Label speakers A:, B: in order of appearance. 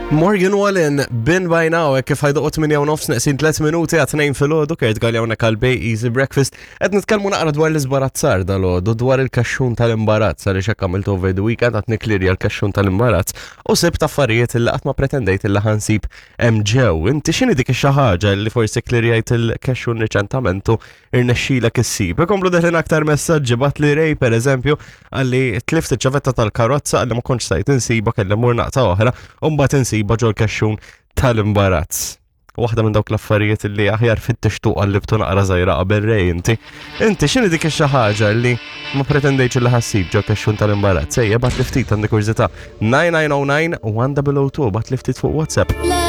A: Morgan Wallen, Bin by Now, hekk kif ħajdoqgħu 8 u nofs neqsin 3 minuti għat 2 filgħodu Kurt Galli hawnhekk għal Bay Easy Breakfast. Qed nitkellmu naqra dwar l-iżbarazzar dal-għodu dwar il-kaxxun tal-imbarazz għaliex hekk għamilt over the weekend qed niklirja l-kaxxun tal-imbarazz u sibt affarijiet illi qatt ma pretendejt illi ħansib hemm ġew. Inti x'inhi dik ix-xi ħaġa li forsi klirjajt il-kaxxun riċentament u irnexxilek issib. Ikomplu deħlin aktar messaġġi bat li Ray per eżempju għalli tlift iċ-ċavetta tal-karozza għalli ma kontx stajt insiba kelli mur naqta oħra u mbagħad insiba ġol kexxun tal-imbarazz. Waħda minn dawk l-affarijiet li aħjar fit-tixtuq għallibtu naqra żgħira qabel Ray inti. Inti x'inhi dik ix-xi ħaġa li ma pretendejtx li ħassib ġol kexxun tal-imbarazz. Ejja bat li ftit għandi kurżità. 9909 1002 bat li ftit fuq WhatsApp.